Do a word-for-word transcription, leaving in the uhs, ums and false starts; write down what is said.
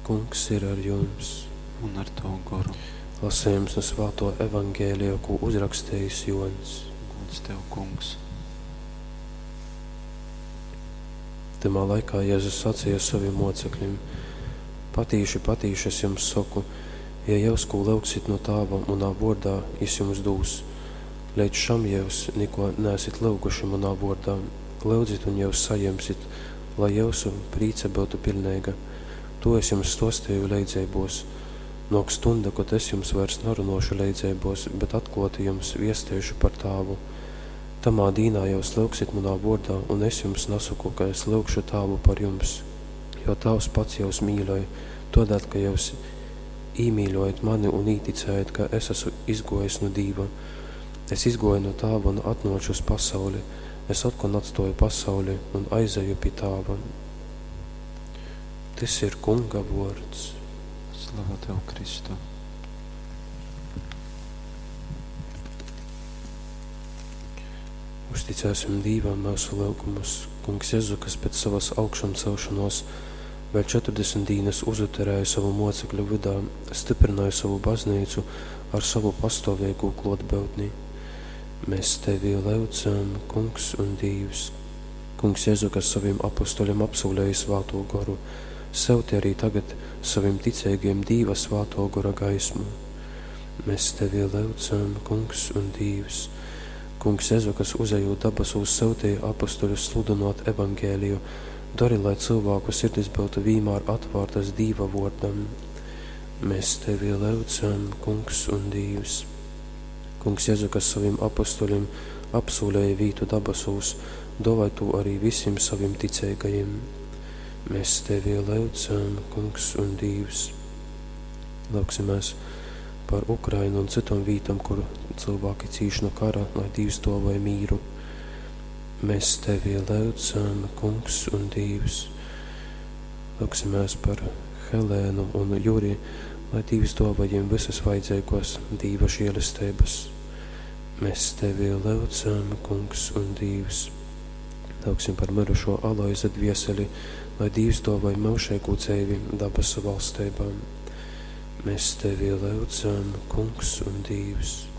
Kungs ir ar jums. Un ar tavu goru. Lasījums no Svāto Evangēlija, ko uzrakstījis Jons. Gods tev, Kungs. Tamā laikā Jēzus sacīja saviem mocekļiem: Patīši, patīši es jums saku, ja jūs ko lūgsit no Tāva manā vārdā, jis jums dūs. Līdz šam jūs neko neesit lūguši manā vārdā. Lūdzit un jūs saņemsit, lai jūsu prīca būtu pilnīga. To es jums stostīju leidzeibos. Nāk stunda, kad es jums vairs narunošu leidzeibos, bet atklāti jums viestiešu par Tāvu. Tamā dīnā jūs lūgsit manā vārdā, un es jums nesaku, ka es lūgšu Tāvu par jums, jo Tāvs pats jūs mīļoj, todēļ, ka jūs īmīļojat mani un īticējat, ka es esmu izgojis no Dīva. Es izgoju no Tāva un atnoču uz pasauli. Es atkal atstoju pasauli un aizeju pie Tāva. Tys ir Kunga vuords. Slava tev, Kristu. Uzticēsim Dīvam mūsu lūgumus. Kungs Jēzu, kas pēc savas augšām celšanos vēl četrdesmit dienas uzuterēja savu mocekļu vidā, stiprināja savu baznīcu ar savu pastāvīgu klotbūtni. Mēs tevi lūdzam, Kungs un Dievs. Kungs Jēzu, kas saviem apustuļiem apsolēja Svāto Goru, sūti arī tagad saviem ticīgiem Dīva Svāto Gora gaismu. Mēs tevi lūdzam, Kungs un Dievs. Kungs Jēzu, kas uzejot dabasūs sūtīja apustuļus sludinot evangēliju, dari, lai cilvēku sirdis būtu vienmēr atvērtas Dīva vārdam. Mēs tevi lūdzam, Kungs un Dievs. Kungs Jēzu, kas saviem apustuļiem apsolēja vītu dabasūs, dovai tu arī visiem saviem ticīgajiem. Mēs tevi lūdzam, Kungs un Dievs. Lūgsimies par Ukrainu un citām vītām, kur cilvēki cīš no kara, lai Dievs dāvāja mīru. Mēs tevi lūdzam, Kungs un Dievs. Lūgsimies par Helēnu un Juri, lai Dievs dāvā viņiem visas vajadzīgos Dieva žēlestības. Mēs tevi lūdzam, Kungs un Dievs. Lūgsim par mirušo Aloiza dvieseli, lai Dievs dāvāja mūžīgu dzīvi dabasu valstībā. Mēs tevi lūdzam, Kungs un Dievs.